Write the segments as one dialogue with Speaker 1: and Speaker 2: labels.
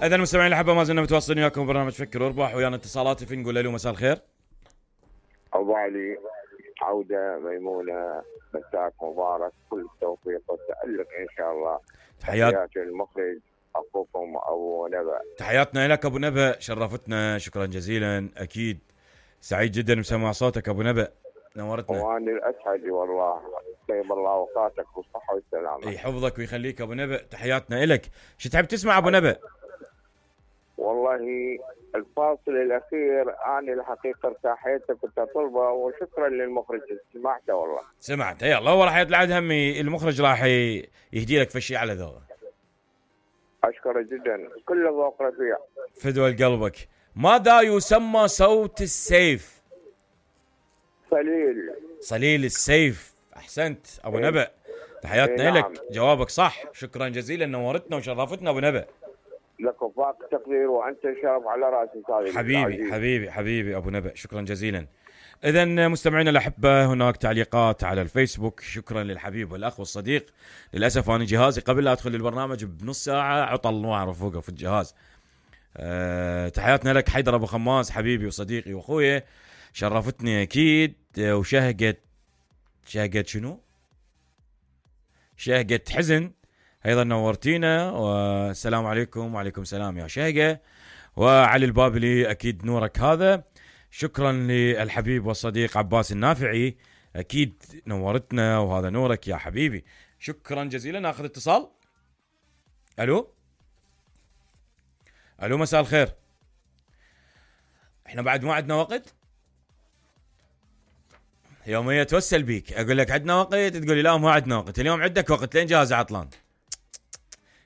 Speaker 1: اذا المستمعين الاحبه ما زلنا متواصلين وياكم برنامج فكر واربح، ويانا اتصالات في نقول له مساء الخير.
Speaker 2: ابو علي عوده ميمونه، مساك مبارك، كل التوفيق والتالق ان شاء الله. تحياتي المخرج اخوكم ابو نبأ.
Speaker 1: تحياتنا لك ابو نبأ، شرفتنا، شكرا جزيلا. اكيد سعيد جدا بسماع صوتك ابو نبأ، نورتنا.
Speaker 2: وانا الاسعد والله، طيب الله اوقاتك بالصحه والسلامه.
Speaker 1: يحفظك ويخليك ابو نبأ، تحياتنا لك. شو تحب تسمع ابو نبأ؟
Speaker 2: والله الفاصل الاخير انا الحقيقه ارتاحيت كنت اطلبه، وشكرا للمخرج سمعته والله.
Speaker 1: سمعته، يلا هو راح يطلع همي المخرج راح يهدي لك فشي على ذوقه.
Speaker 2: اشكره جدا، كل ذوق رفيع.
Speaker 1: فدوى قلبك. ماذا يسمى صوت السيف؟
Speaker 2: صليل.
Speaker 1: صليل السيف، احسنت ابو نبأ، تحياتنا لك. جوابك صح، شكرا جزيلا، نورتنا وشرفتنا ابو نبأ.
Speaker 2: لك وفاق تقدير وانت شرف على راسي صادق.
Speaker 1: حبيبي ابو نبأ، شكرا جزيلا. اذا مستمعينا الاحبه، هناك تعليقات على الفيسبوك، شكرا للحبيب والاخ والصديق. للاسف انا جهازي قبل لا ادخل البرنامج بنص ساعه عطل، ما اعرف اوقف الجهاز. تحياتنا لك حيدر ابو خماس، حبيبي وصديقي واخويا، شرفتني اكيد. وشهقت شنو؟ شهقت حزن، ايضا نورتينا، والسلام عليكم. وعليكم السلام يا شهقه. وعلي البابلي، اكيد نورك هذا. شكرا للحبيب والصديق عباس النافعي، اكيد نورتنا وهذا نورك يا حبيبي، شكرا جزيلا. ناخذ اتصال. الو مساء الخير. احنا بعد ما عندنا وقت؟ يومية توسل بيك، اقول لك عندنا وقت تقول لي لا ما عندنا وقت. اليوم عندك وقت لين جهاز عطلان.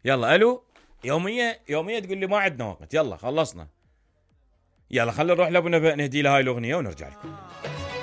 Speaker 1: يلا الو، يومية تقول لي ما عندنا وقت. يلا خلصنا، يلا خلينا نروح لابو نبأ نهدي له هاي الاغنيه ونرجع لكم.